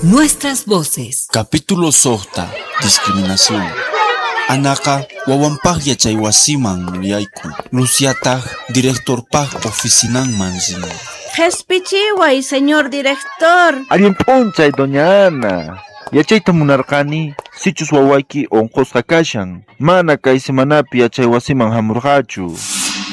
Nuestras voces. Capítulo 6. Discriminación. Anaqa wawanpaq yachaywasiman yaykun. Luciataq directorpaq oficinanman rin. Qhispichiway, señor director. Allin p'unchay, doña Ana. Yachayta munarqani, sichus wawayki unqusqa kashan. Mana kay semanapi yachaywasiman hamurqachu.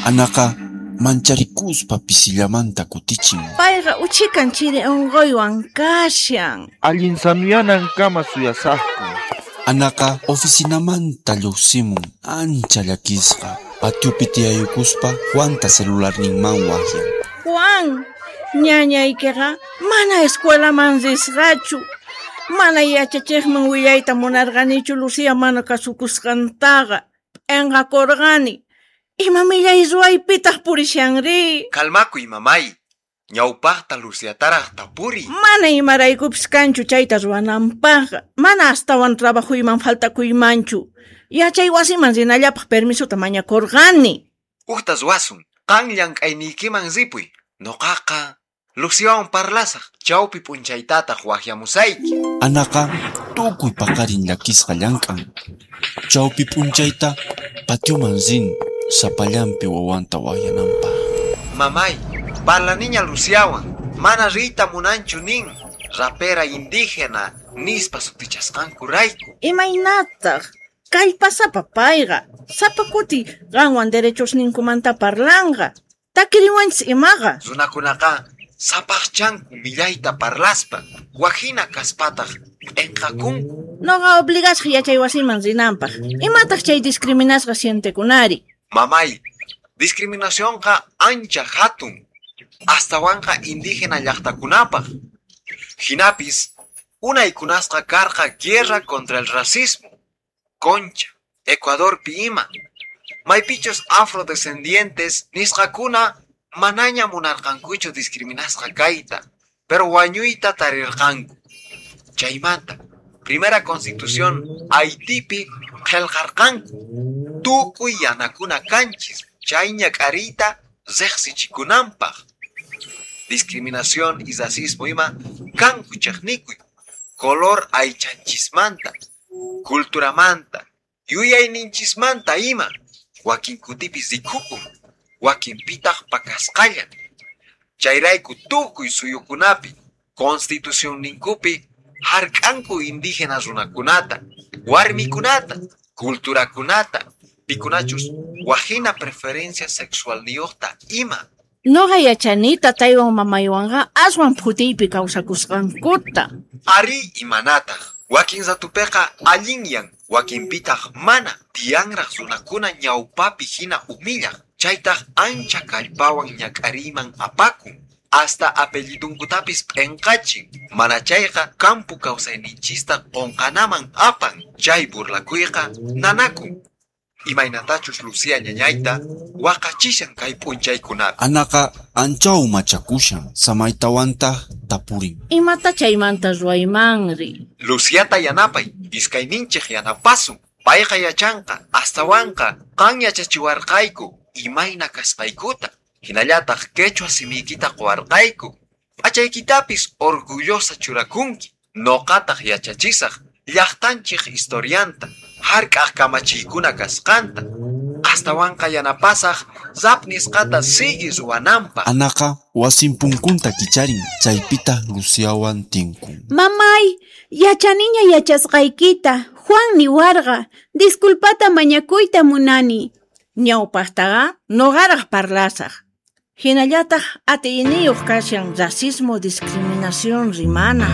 Anaqa mancharikuspa pisillamanta kutichin. Payqa uchikan chiri unquywan kashan. Allin sanuyanankama suyasaqku. Anaqa oficinamanta lluqsimun ancha llakisqa. Patiopi tiyayukuspa Juanta celularninman waqyan. Juan, ñañaykiqa mana escuelaman risqachu. Mana yachachiqman willayta munarqanichu Lucía mana kasukusqantaqa. P'inqakurqani. Ima millay ruwaypitaq purishanri? Kalmakuy, mamay. Ñawpaqta Luciataraq tapuri. Mana imaraykupis kanchu chayta ruwananpaqqa. Mana astawan trabajuyman faltakuymanchu. Yachay wasiman rinallapaq permisota mañakurqani. Uqta ruwasun. Qan llank'ayniykiman ripuy. Nuqaqa Luciawan parlasaq. Chawpi p'unchaytataq waqyamusayki. Anaqa tukuy paqarin llakisqa llank'an. Chawpi p'unchayta patioman rin sapallanpi wawanta waqyananpaq. Mamay, parlaniña Luciawan. Mana riyta munanchu nin. Rapera indígena nispa sutichasqankurayku. Imaynataq? Kallpasapa payqa. Sapa kuti qanwan derechosninkumanta parlanqa. Takiriwanchis imaqa. Runakunaqa sapaqchanku millayta parlaspa. Wajina kaspataq p'inqakunku. Noqa obligasqa yachaywasiman rinanpaq. Imataq chay discriminasqa sientekunari? Mamay, discriminacionqa ancha hatun. Astawanqa indígena llaqtakunapaq. Hinapis, unaykunasqa karqa guerra contra el racismo. Concha, Ecuadorpi ima. Maypichus afrodescendientes nisqakuna manaña munarqankuchu discriminasqa kayta, pero wañuyta tarirqanku. Chaymanta, primera constitución Haitipi qillqarqanku. Tukuy yanakuna kanchis, chay ñak'ariyta riqsichikunanpaq. Discriminación y racismo ima kanku chiqnikuy, color aychanchismanta, culturamanta, yuyayninchismanta ima. Wakin kutipis rikukun, wakinpitaq pakasqalla. Chayrayku tukuy suyukunapi, constitucionninkupi hark'anku indígena runakunata, warmikunata, culturakunata, pikunachus wajina preferencia sexualniyuqta ima. Noqa yachani tataywan mamaywanqa aswan phutiypi kawsakusqankuta. Ari imanataq. Wakin ratupiqa allinyan, wakinpitaq mana. Tiyanraq runakuna ñawpapi hina humillaq. Chaytaq ancha kallpawan ñak'ariyman apakun. Hasta apellidunkutapis p'inqachin. Mana chayqa kampu kawsayninchista qunqanaman apan. Chay burlakuyqa nanakun. Imaynatachus Lucía ñañayta waqachishan kay p'unchaykunapi. Anaqa anchaw machakushan, samaytawantaq tapurin. Imata chaymanta ruwaymanri? Luciata yanapay, iskayninchik yanapasun. Payqa yachanqa, astawanqa qan yachachiwarqayku imayna kasqaykuta. Hinallataq quechua simiykita quwarqayku. P'achaykitapis orgullosa churakunki. Nuqataq yachachisaq llaqtanchik historianta, hark'aq kamachiykuna kasqanta. Astawanqa yanapasaq rap nisqata sigui ruwananpaq. Anaqa wasin punkunta kicharin, chaypitaq Luciawan tinkun. Mamay, yachaniña yachasqaykita. Juan niwarqa, disculpata mañakuyta munani. Ñawpaqtaqa nuqaraq parlasaq. Hinallataq atiyniyuq kashan racismo discriminación rimana.